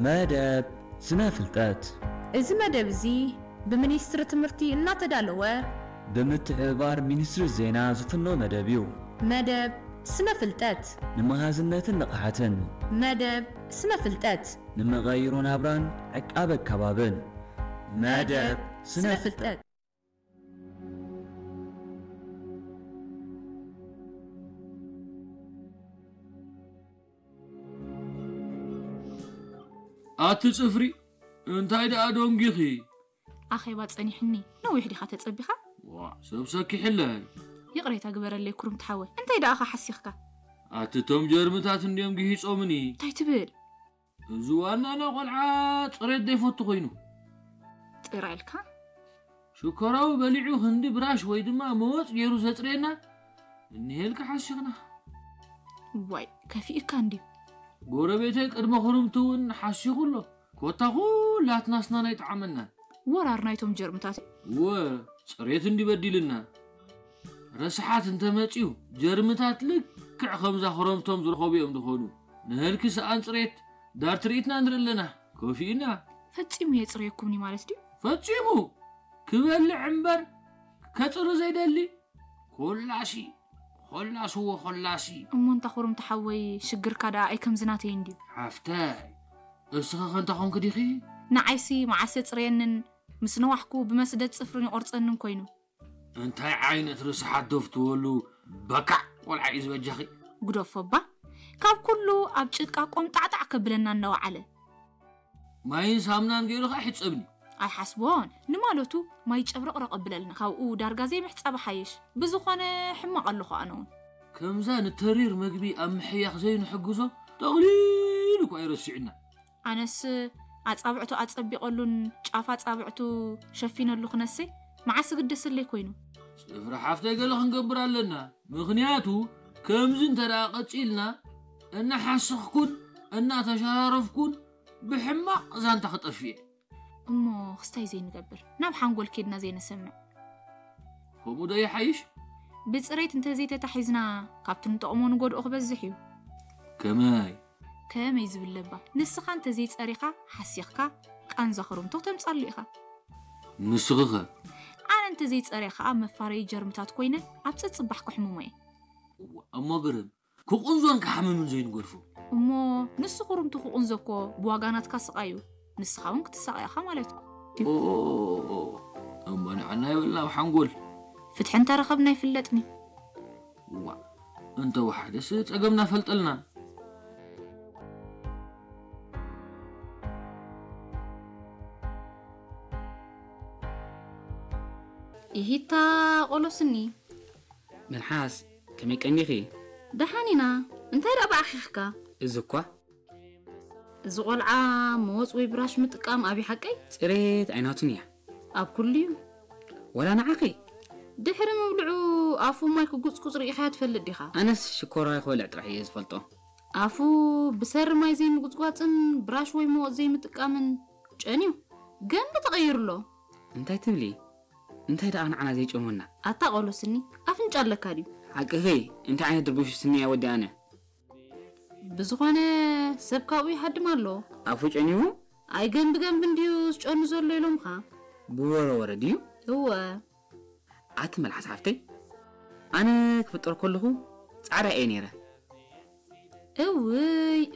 መደብ ስነ ፍልጠት። እዚ መደብ እዚ ብሚኒስትሪ ትምህርቲ እናተዳለወ ብምትሕብባር ሚኒስትሪ ዜና ዝፍኖ መደብ እዩ። መደብ ስነ ፍልጠት። ንመሃዝነትን ንቕሓትን። መደብ ስነ ፍልጠት። ንመቐይሮ ናብራን ዕቃበ ኣካባብን። መደብ ስነ ፍልጠት። ኣቲ ጽፍሪ፣ እንታይ ደኣ ደንጊኺ? ኣኼባ ጸኒሕኒ። ነዊሕ ዲኻ ተጸቢኻ? ዋ፣ ሰብ ሰኪሕለይ። ይቕሬታ ግበረለይ ኩርምቲ ሓወይ። እንታይ ደኣ ሓሲኽካ? ኣቲ ቶም ጀርምታት እንድዮም ግሂጾምኒ። እንታይ ትብል? እዚ ዋናና ቆልዓ ጽሬት ዘይፈቱ ኮይኑ። ጥራይ ኢልካ? ሽኮራዊ በሊዑ ክንዲ ብራሽ ወይ ድማ መወጽ ገይሩ ዘጽርየና እንሄልካ ሓሲኽና። ዋይ፣ ከፊእካ እንድዩ። ጎረቤተይ ቅድመ ክርምቲ እውን ሓሲኹ ኣሎ። ኮታ ኩላትና ስናና ኣይጠዓመናን። ወራር ናይቶም ጀርምታት። እወ፣ ጽሬት እንዲ በዲልና። ረስሓት እንተመጽዩ፣ ጀርምታት ልክዕ ከምዛ ክረምቶም ዝረኸቡ እዮም ዝኾኑ። ንህልኪ ሰኣን ጽሬት ዳር ትርኢትና ንርኢ ኣለና። ከፊእና። ፈጺሙ የጽርየኩምኒ ማለት ድዩ? ፈጺሙ! ክበልዕ እምበር ከጽሪ ዘይደሊ። ኮላሲ፣ ኮላስዎ ኮላሲ። እሞ እንታ ኩርምቲ ሓወይ፣ ሽግርካ ደኣ ኣይከምዚ ናተይ እንድዩ። ሓፍተይ፣ እስኺ ከ እንታይ ኮንኪ ዲኺ? ንዓይሲ መዓስ የጽርየንን ምስ ነዋሕኩ ብመስደድ ጽፍርን ይቖርጸንን ኮይኑ። እንታይ ዓይነት ርስሓት ደፍትወሉ በካዕ ቆልዓ እዩ ዝበጃኺ? ግደፎ እባ። ካብ ኩሉ ኣብ ጭቃ ቆምጣዕጣዕ ከብለና እናወዓለ። ማይን ሳምናን ገይሩ ኸዓ ይሕጸብኒ። ኣይሓስቦን። ንማለቱ ማይ ጨብረቕረቕ ኣብለልና። ካብኡ ዳርጋ ዘይምሕጻብ ሓይሽ። ብዝኾነ ሕማቕ ኣለኹ ኣነ እውን። ከምዛ ንተሪር መግቢ ኣብ ምሕያኽ ዘይንሕግዞ ጠቕሊሉ እኳ ኣይረሲዕና። ኣነስ ኣጻብዕቱ ኣጸቢቐሉን ጫፍ ኣጻብዕቱ ሸፊነሉ ክነሰይ መዓስ ግደሰለይ ኮይኑ። ጽፍሪ ሓፍተይ ገለ ክንገብር ኣለና። ምኽንያቱ ከምዚ እንተ ደኣ ቀጺልና እናሓሰኽኩን እናተሸራረፍኩን ብሕማቕ ዛንታ ክጠፍእ እየ። እሞ ክስታይ ዘይንገብር፣ ናብ ሓንጎል ኬድና ዘይንሰምዕ። ከምኡ ዶ ይሓይሽ? ብጽሬት እንተዘይተታሒዝና፣ ካብቲ ንጠቕሞ ንጎድኦ ክበዝሕ እዩ። ከመይ? ከመይ ዝብል ለባ? ንስኻ እንተዘይጸሪኻ፣ ሓሲኽካ፣ ቃንዛ ክርምቶ ተምጻሉ ኢኻ። ንስኺ ኸ? ኣነ እንተዘይጸርየ ኸኣ መፋረዪ ጀርምታት ኮይነ ኣብ ጸጽባሕ ከሕምሞ እየ። እዋ፣ እሞ ግርም፣ ክቕንዞን ክሓምምን ዘይንገድፎ። እሞ ንሱ ክርምቱ ክቕንዞ እኮ ብዋጋ ናትካ ስቓይ እዩ። ንስኻ እውን ክትሳቐ ኢኻ ማለት እዩ። ኦ፣ ኦ፣ ኦ፣ ኦ፣ ኦ። እሞ ንዓና ይበልና ኣብ ሓንጎል። ፍትሒ እንተረኸብና ይፍለጥኒ። ዋ፣ እንተወሓደስ ጸገምና ፈልጠልና። ኢሂታ ቆሎ ስኒ። መልሓስ፣ ከመይ ቀኒኺ? ደሓን ኢና። እንታይ ደኣ ብኣኺኽካ? እዚ እኳ። እዚ ቆልዓ መወጽ ወይ ብራሽ ምጥቃም ኣብዩ ሓቀይ? ጽሬት ኣይናቱን እያ። ኣብ ኩሉ እዩ። ወላ ንዓኺ? ድሕሪ ምብልዑ ኣፉ ማይ ክጉጽጉጽ ርኢኻዮ ትፈልጥ ዲኻ? ኣነስ ሽኮራ ክበልዕ ጥራሕ እየ ዝፈልጦ። ኣፉ ብሰሪ ማይ ዘይምጉጽጓጽን ብራሽ ወይ መወጽ ዘይምጥቃምን ጨንዩ ገንቢ ተቐይሩ ኣሎ። እንታይ ትብሊ? እንታይ ደኣ ንዓና ዘይጨንወና? ኣታ ቆሎ ስኒ፣ ኣፍንጫ ኣለካ ድዩ? ሓቅኺ፣ እንታይ ዓይነት ድርቡሽ ስኒ እያ ወዲ ኣነ? ብዝኾነ ሰብ ካብኡ ይሃድም ኣሎ። ኣፉ ጨንዩ? ኣይ ገንቢ ገንቢ እንድዩ ዝጨኑ ዘሎ ኢሎምኻ። ብወረ ወረ ድዩ? እወ። ኣቲ መልሓስ ሓፍተይ፣ ኣነ ክፍጠር ከለኹ ጻዕዳ እየ ነይረ። እውይ፣